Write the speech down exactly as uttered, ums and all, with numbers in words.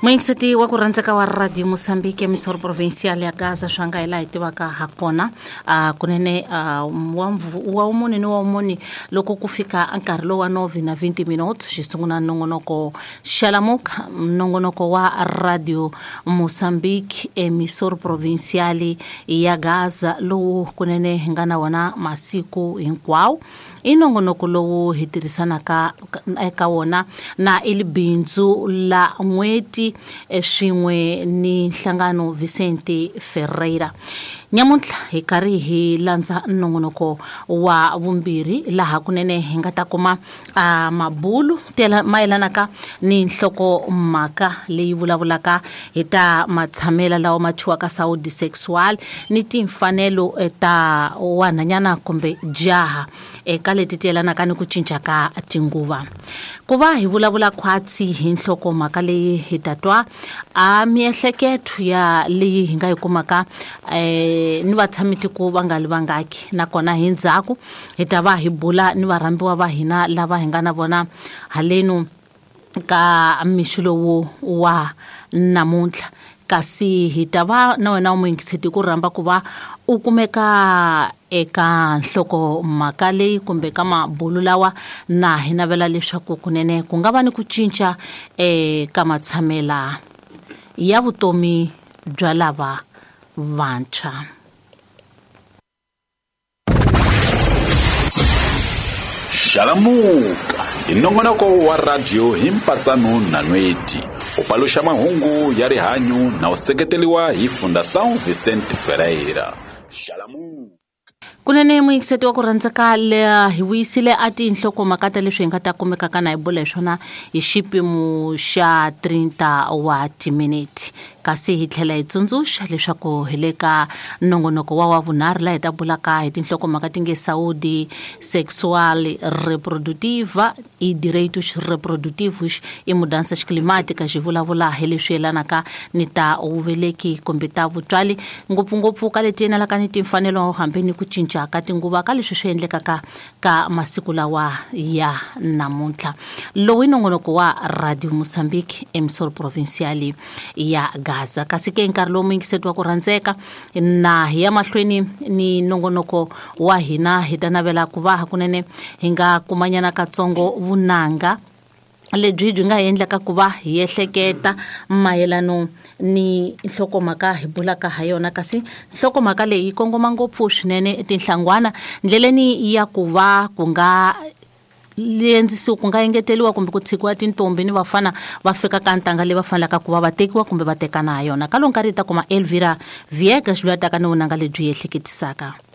Muyingiseti wa ku rhandzeka wa Radio Mozambique emissora provincial ya Gaza swa nga hi laha hi tivaka ha kona uh, kunene uh, wa wumune ni wa wumune loko ku fika nkarhi lowu wa nove na twenty minutes xi sungula nongonoko Xalamuka, nongonoko wa Radio Mozambique emissora provincial ya Gaza lowu kunene hi nga na wona masiku hinkwawo. I nongonoko lowu hi tirhisanaka eka wona na ilibindzu la n'weti swin'we ni nhlangano Vicente Ferreira. Nyamuntlha hi karhi hi landza nongonoko wa vumbirhi laha kunene hi nga ta kuma a mabulu mayelanaka ni nhlokomhaka leyi vulavulaka hi ta matshamela lawa ma thyiwaka saúde sexual ni timfanelo ta wanhanyana kumbe jaha eka leti ti yelanaka ni ku cinca ka tinguva. Ku va hi vulavula khwatsi hi nhlokomhaka leyi hi ta twa a miehleketo ya leyi hi nga yi kumaka eh, ni vatshamitiko va nga li vangaki, nakona hi ndzhaku hi ta va hi bula ni varhambiwa va hina lava hi nga na vona halenu ka mixo lowu wa namuntlha. Kasi hi ta va na wena muyingiseti ku rhamba ku va u kumeka eka nhlokomhaka leyi kumbe ka mabulu lawa na hi navela leswaku kunene ku nga va ni ku cinca eka matshamela ya vutomi bya lava vantshwa. Xalamuka hi nongonoko wa radio hi mpatsano na nweti u paluxa mahungu ya rihanyu na u seketeriwa hi Fundação Vicente Ferreira. Xalamuka. Kunene muyingiseti wa ku rhandzeka le hi vuyisile a tinhlokomhaka ta leswi hi nga ta kumekaka na hi bula hi swona hi xipimo xa thirty wa timinete. Kasi hi tlhela hi tsundzuxa leswaku hi le ka nongonoko wa wa vunharhu laha hi ta bulaka hi tinhlokomhaka ti nge saúde sexual reprodutiva e direitos reprodutivos e mudanças climáticas. Hi vulavula hi leswi yelanaka ni ta vuveleki kumbe ta vutswali, ngopfungopfu ka leti yelanaka ni timfanelo hambi ni ku cinca ka tinguva ka leswi swi endlekaka ka masiku lawa ya namuntlha. Lowu i nongonoko wa Radio Mozambique emissora provincial ya Gaza. Kasi ke nkarhi lowu muyingiseti wa ku rhandzeka na hi ya mahlweni ni nongonoko wa hina hi ta navela ku va hakunene hi nga kumanyana katsongo vunanga lebyi byi nga endlaka ku va hi ehleketa mayelano ni nhlokomhaka hi bulaka ha yona. Kasi nhlokomhaka leyi yi kongoma ngopfu swinene tinhlangwana ndleleni ya ku va ku nga lendzisiwa ku nga engeteriwa kumbe ku tshikiwa tintombi ni vafana va fika ka ntanga leyi va fanelaka ku va va tekiwa kumbe va tekana ha yona. Ka lowu nkarhi hi ta kuma Elvira Viegas loyi a taka ni vunanga lebyi ehleketisaka.